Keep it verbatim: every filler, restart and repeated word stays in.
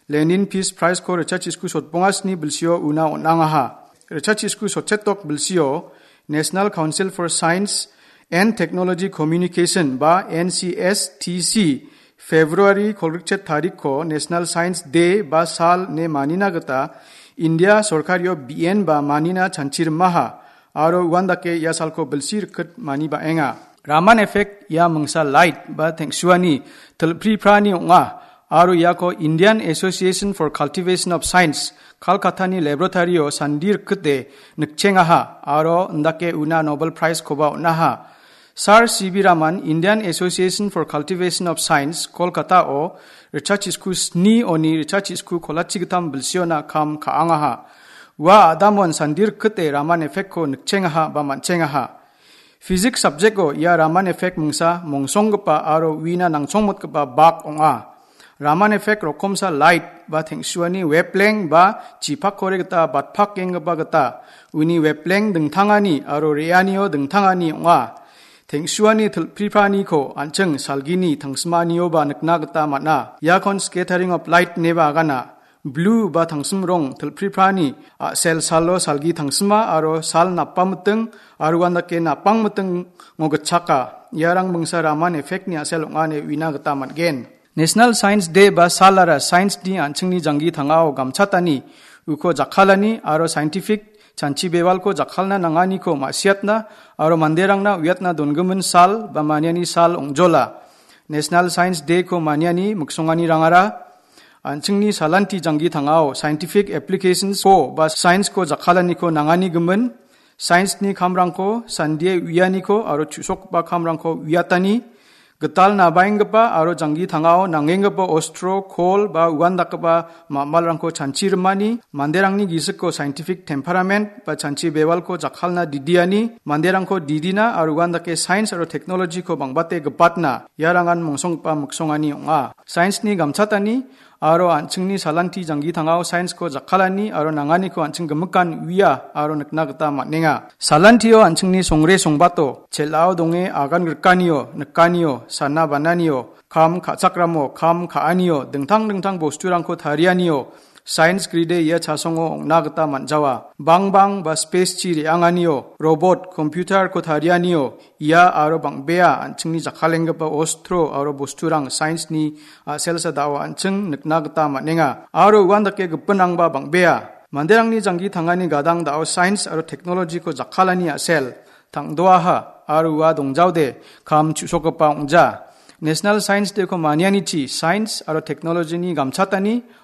Lenin Peace Prize-ko ritchachisku sotbongasni bilsio una on·angaha. Ritchachisku sotsetok bilsio National Council for Science and Technology Communication ba N C S T C February kolgritchet tarikko National Science Day ba sal ne manina gita India sorkario B N ba manina chanchirimaha. Aro uandake ia salko bilsi rikit mani ba·enga. Raman effect ia mingsa light ba teng·suani tilpri prani ong·a. Aro iako Indian Association for Cultivation of Science, Kolkatani laboratory-o sandi rikite nikchengaha. Aro indake una Nobel Prize-koba on·aha. Sir C V Raman, Indian Association for Cultivation of Science, Kolkata-o ritchachisku sni oni ritchachisku kolachi gitam bilsiona kam ka·angaha. Ua adamon sandi rikite Raman effect-ko nikchengaha ba man·chengaha. Physics subject-o ia Raman effect mingsa mongsonggipa aro uina nangchongmotgipa bak ong·a. Raman effect rokomsa light ba teng·suani wavelength ba chipakkore gita batpakenggipa gita uni wavelength dingtangani aro re·anio dingtangani ong·a. Teng·suani tilpri praniko an·ching salgini tangsimanioba nikna gita man·a. Iakon scattering of light ineba agana. Blue ba tangsim rong tilpri prani a·sel salo salgi tangsima aro sal napamiting aro uandake napangmitingo gitchaka. Iarang mingsa Raman effect-ni a·sel ong·a ine uina gita man·gen. National Science Day ba salara science-ni an·chingni janggi tangao gamchatani uko jakkalani aro scientific chanchi bewalko jakkalna nanganiko ma·siatna aro manderangna uiatna dongimin sal ba maniani sal ong·jola. National Science Day-ko maniani miksonganirangara an·chingni salanti janggi tangao scientific applications-ko ba science-ko jakkalaniko nangani gimin, science-ni kamrangko sandie uianiko aro chu·sokgipa kamrangko uiatani, gital nabaenggipa aro janggi tangao nangenggipa ostro, kol ba uandakgipa ma·malrangko chanchi rimani, manderangni gisiko scientific temperament ba chanchi bewalko jakkalna didiani, manderangko didina aro uandake science aro technology-ko bangbate gipatna, iarangan mongsonggipa miksongani ong·a. Science-ni gamchatani aro an·chingni salanti janggi tangao science-ko jakkalani aro nanganiko an·ching gimikan uia aro nikna gita man·enga. Salantio an·chingni songre songbato, chel·ao donge agan grikanio, nikanio, sana bananio, kam ka·chakramo, kam ka·anio, dingtang dingtang bosturangko tarianio, science gride ia chasongo ong·na gita man·jawa. Bangbang ba space-chi re·anganio, robot, computer-ko tarianio, ia aro bang·bea an·chingni jakkalenggipa ostro aro bosturang science-ni a·selsa da·o an·ching nikna gita man·enga. Aro uandake gipinrangba bang·bea. Manderangni janggi tangani gadang da·o science aro technology-ko jakkalani a·sel tang·doaha aro ua dongjaode kam chu·sokgipa ong·ja. National Science Day-ko manianichi science aro technology-ni gamchatani